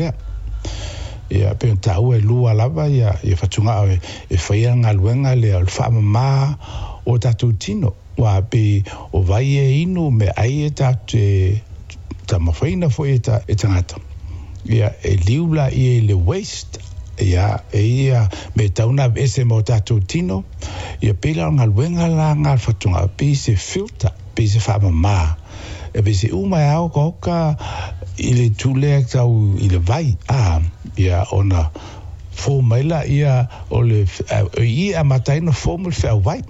lea. Ia, pei ona taua e lua lava ia fatugao e faia le galuega lea o le faamama o tatou tino. Aua pei o vai e inu, meaai e tatou te taumafaina foi e tagata, ia, e liu laia i le waste, ia, e ia mea e tatau ona aveese ma o tatou tino, ia pei la o le galuega la lena a le fatugao, pei se filter, pei se faamama, e pei se uma e aokaoka i le itu lea tau i le vai, a, ia, ona fou mai laia o le, i i e amata ai ona form le feauvai.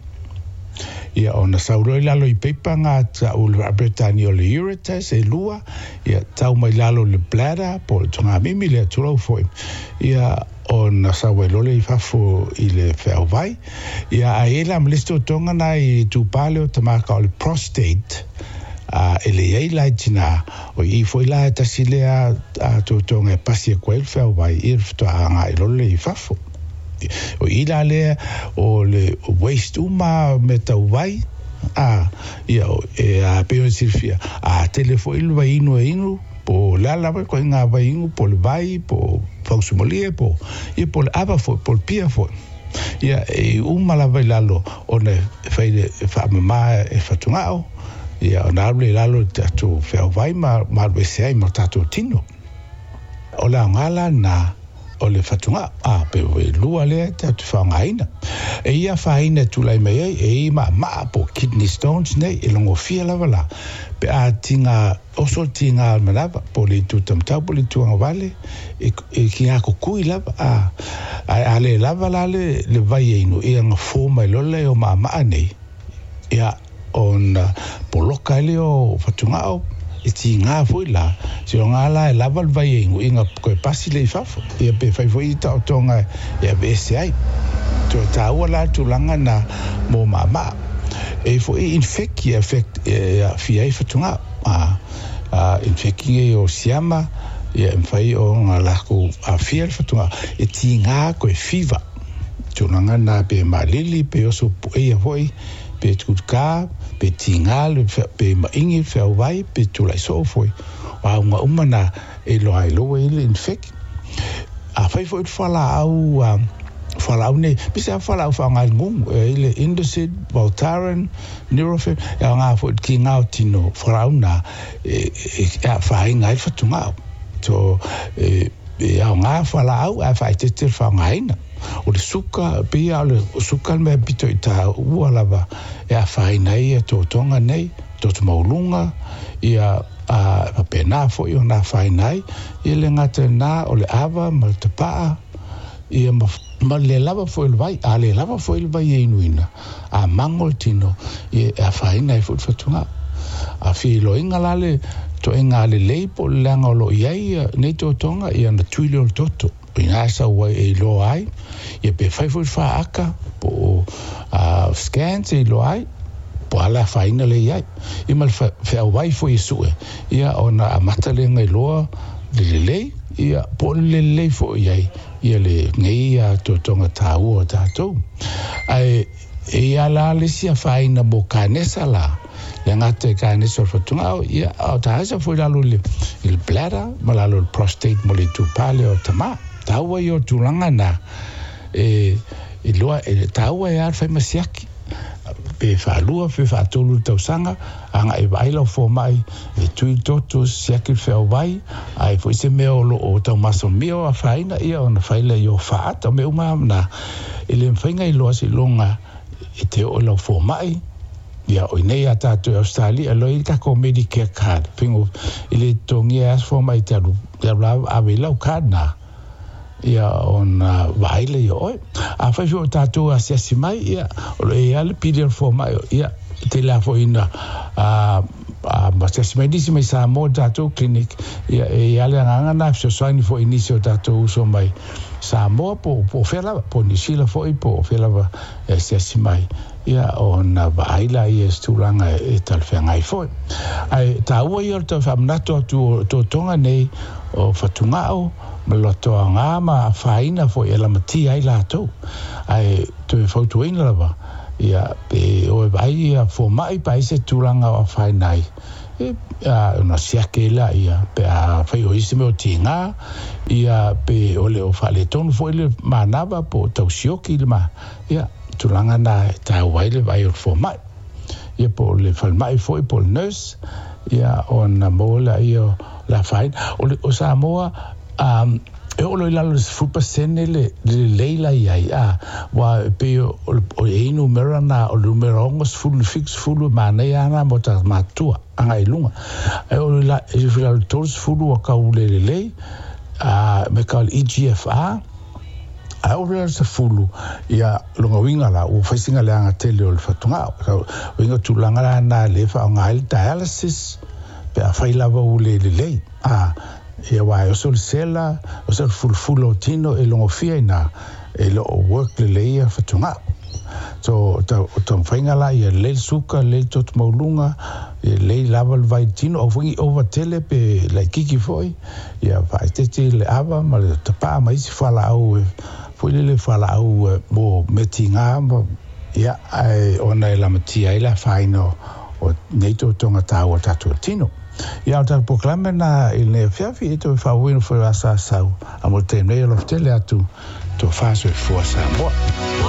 Ia, ona sau loa i lalo i paipa na tau i le Faa-Peretania o le ureters e lua, ia, tau mai lalo i le bladder po o le togamimi lea, tulou foi, ia, ona sau ai loa lea i fafo i le feauvai. Ia, ae i ai la ma le isi totoga na i itupa lea o tamaka o le prostate, a, e leai la i tinā, o i foi la e tasi lea totoga e pasi atu ai le feauvai, ia le faatoa agai loa lea i fafo. O i la lea o le waste uma mea tau vai, a, ia, e a pei ona silafia, a tele foi le vaiinu e inu, po o le a lava le ituaiga vaiinu, po o le vai, po o fausumalie, po, ia, po o le ava foi, po o le pia foi. Ia, e uma lava i lalo ona e fai e faamama e fatugao, ia, ona alu lea i lalo i le tatou feauvai ma alu ese ai ma le tatou tino. O le aoga la lena o le fatugao, a pe ua lua lea tatou te faaaogaina. E ia afaina e tulai mai ai, e i maamaa po o kidney stones nei, e logofia lava la, pe a tiga oso le tiga o le manava, po o le itu taumatau po o le itu agavale, e kiga kukui lava, a, ae a le lava la le vai e inu, ia ona fo mai loa lea o maamaa nei, ia, ona poloka ai lea o fatugao, e tiga foi la, seiloga la e lava le vai e inu, ia ona toe pasi lea i fafo, ia pe fai foi taotoga e aveese ai. Toe taua la le tulaga na mo maamaa. E i ai foi infeki e affect, e aafia ai fatugao. A, a infeki nei o siama, ia e mafai ona latou aafia le fatugao, e tiga koe fever. Tulaga na pe malili, pe oso pueia foi, pe tutuka, pe tiga le, pe maigi le feauvai, pe tulai soo foi. O auga uma na e iloa ai loa ua i ai le infeki. Afai foi le fualaau, fualaau nei, pei se fualaau faaaoga i le gugu, e i ai le Indocid, Voltaren, Nurofen, e aoga foi i le tiga o tino fualaau na e afaina ai le fatugao. So, e aoga fualaau ae faaeteete le faaaogaina. O le suka, pei lava o le suka le mea pito i taua lava e afaina ai ia totoga nei, toto maualuga, ia, a e faapena foi ona afaina ai, ia le gata i lena o le ava ma le tapaa, ia ma, ma le lava foi o le vai, a le lava foi le vai e inuina, a mago le tino, ia e afaina ai foi le fatugao. A fia iloaina la le toega lelei po o le leaga o lo o i ai nei totoga, ia ona tui lea o le toto. O ina e sau ai e iloa ai, ia pe fai foi le faata po o scans e iloa ai, po o a le afaina lea e i ai. Ia ma le feauai foi e sue, ia ona amata lea ona iloa le lelei, ia po o le le lelei foi i ai ia lenei totoga taua o tatou. Ae e i ai la le isi afaina mo kanesa la, le gata i kanesa o le fatugao, ia a o kanesa foi i lalo i le bladder ma lalo i le prostate mo le itupa lea o tama. Taua ia o tulaga na, e iloa, e taua e a le fai ma siaki, pe faalua pe faatolu i le tausaga, agai e vaai lau fomai, e tui le toto, siaki le feauvai, a i foi se mea o lo o taumasalomia o afaina, ia ona fai lea i o faata. O mea uma lava na, e le mafai ona iloa seiloga e te oo i lau fomai. Ia, o inei ia tatou i Ausetalia, e loa i ai le tatou Medicare card, faigo, e le totogia ai lava se fomai e te alu, e alu lava ave i lau card na, ia ona vaai lea ia oe. Afai foi o tatou e asiasi mai, ia, o lo o i ai lava le pili o le fomai, ia, e tele lava foi ina asiasi mai nisi mai Samoa i le tatou clinic, ia, e i ai lava le agaga lena e fesoasoani foi i nisi o tatou uso mai Samoa po o fea lava, po o Niu Sila foi, po o fea lava e asiasi mai, ia, ona vaai laia i se tulaga e talafeagai foi. Ae taua ia o le tau faamanatu atu o totoga nei o fatugao ma le loto aoga ma afaina foi e lamatia ai latou. Ae toe fautuaina lava, ia, pe o e vaai ia fomai pe ai se tulaga o afaina ai, E ona siake ai laia pe afai o isi mea o tiga ia pe o le o faaletonu foi le manava po o tau sioki le ma ia tulaga na e taua ai le vaai o le fomai ia po o le falemai foi po o le nurse ia ona maua laia o le afaina. O le o Samoa e oo loa i lalo i le 10% le lelei la i ai, a, aua e pei o e i ai numera na, o le numera 60 i le 70 e manaia lava na mo tagata matutua agai i luga. Ae oo i lalo i le 30 ua tau le lelei, a, me ka o le EGFR, ae oo loa i le 10, ia, lona uiga la, ua fai sina leaga tele o le fatugao. Uiga o tulaga la na lea e faaaoga ai le dialysis, pe afai lava ua le lelei, a, Ia aua e oso le sela, oso le fulufula o tino e logofia ina e le o work lelei ia fatugao. So o taumafaiga la ia lelei le suka, lelei le toto maualuga, ia lelei lava le vai tino, aua foi ne i ova tele pe laitiiti foi, ia faaeteete le ava ma le tapaa ma isi fualaau foi lele fualaau mo mea tiga ma ia ae ona e lamatia ai le afaina o nei totoga taua o tatou tino. Ia o le tatou polokalame lena i lenei afiafi e toe faaauauina foi o Asa Asau a mo le taimi nei alofa tele atu tofa soifua Samoa.